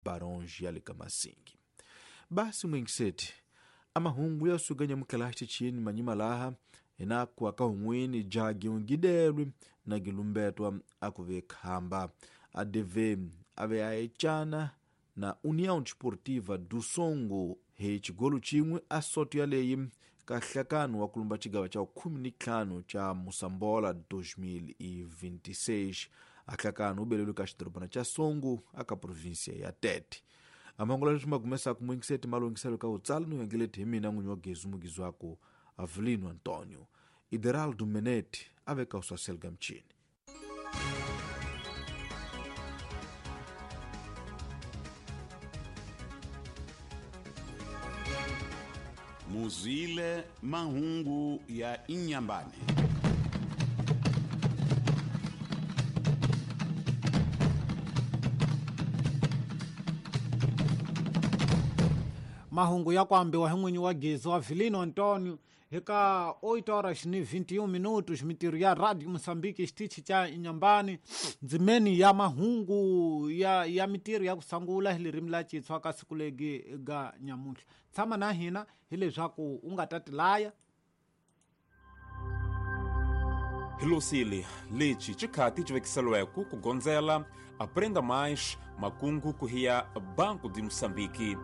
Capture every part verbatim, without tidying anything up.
Barões ya le ka Masingi. Basi mwingiseti amahungu ya suganya mukalaxi chini manyima laha hina ku aka hun'wini jagi ungidelwi na gilumbetwa akuve khamba A D V ave a echana na União Desportiva do Songo hi xigolo xin'we a soto yaleyi ka nhlakano wa kulumba xigava xa khume ni ntlhanu xa Mosambola dois mil e vinte e seis. A nhlakano wu belelwe ka xidorobana xa Songo aka província ya Tete. Amahungu leswi ma kumesaka mwingiseti malungiselo ka utsala no yengeleti hi mina n'winyi wa Gezu Mugizwako Avelino Antonio. Ideraldo Menete ave ka uswaselga mchini. Muzile mahungu ya Inhambane. Mahungu ya kuambiwa hi n'winyi wa Gezu Avelino Antonio hika oito horas ni vinte e um minutos mitirho ya Radio Moçambique xitichi xa Inhambane ndzimeni ya mahungu ya ya mitirho ya ku sungula hi ririmi la Xitsonga ka siku legi ga nyamuntlha. Tshama na hina hileswaku u nga ta tilaya. Hilosile lexi xikhati xi vekiseliweke ku gondzela Aprenda Mais makungu ku hiya Banco de Moçambique.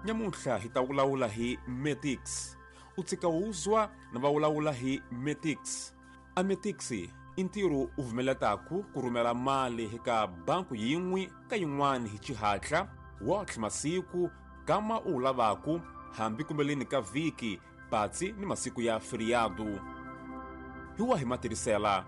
Nyamuntlha hi ta vulavula hi Metix. U tshika wuzwa na va vulavula hi Metix. A Metix i ntirho u vumeletaku ku rhumela mali eka banku yin'we ka yin'wana hi xihatla wotlhe masiku kama u lavaku hambi kumbeleni ka vhiki patsi ni masiku ya feriado. Hi wahi matirhisela?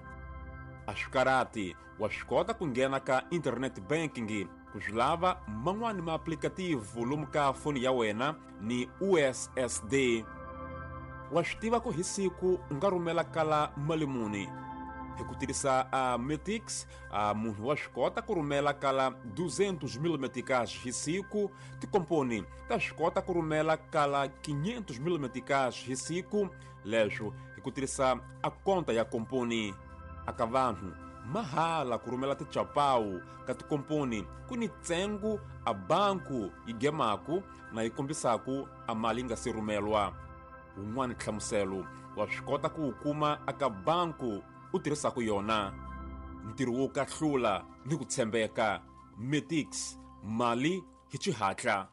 A swi karhati, wa swi kota ku nghena ka internet banking ku swi lava man'wani maaplikativu lomu ka foni ya wena ni U S S D. Wa swi tiva ku hi siku u nga rhumela kala mali muni. Hi ku tirhisa a Metix, a munhu wa swi kota ku rhumela kala duzentos mil meticais hi siku, tikomponi ta swi kota ku rhumela kala quinhentos mil meticais hi siku, leswo hi ku tirhisa a konta ya komponi. Aka vanhu mahala ku rhumela tichapawu ka tikomponi ku ni ntsengo a banku yi gemaku na yi kombisaku a mali yi nga se rhumelwa. Wun'wani nhlamuselo wa swi kota ku wu kuma aka banku u tirhisaku yona. Ntirho wo kahlula ni ku tshembeka. Metix, mali hi xihatla.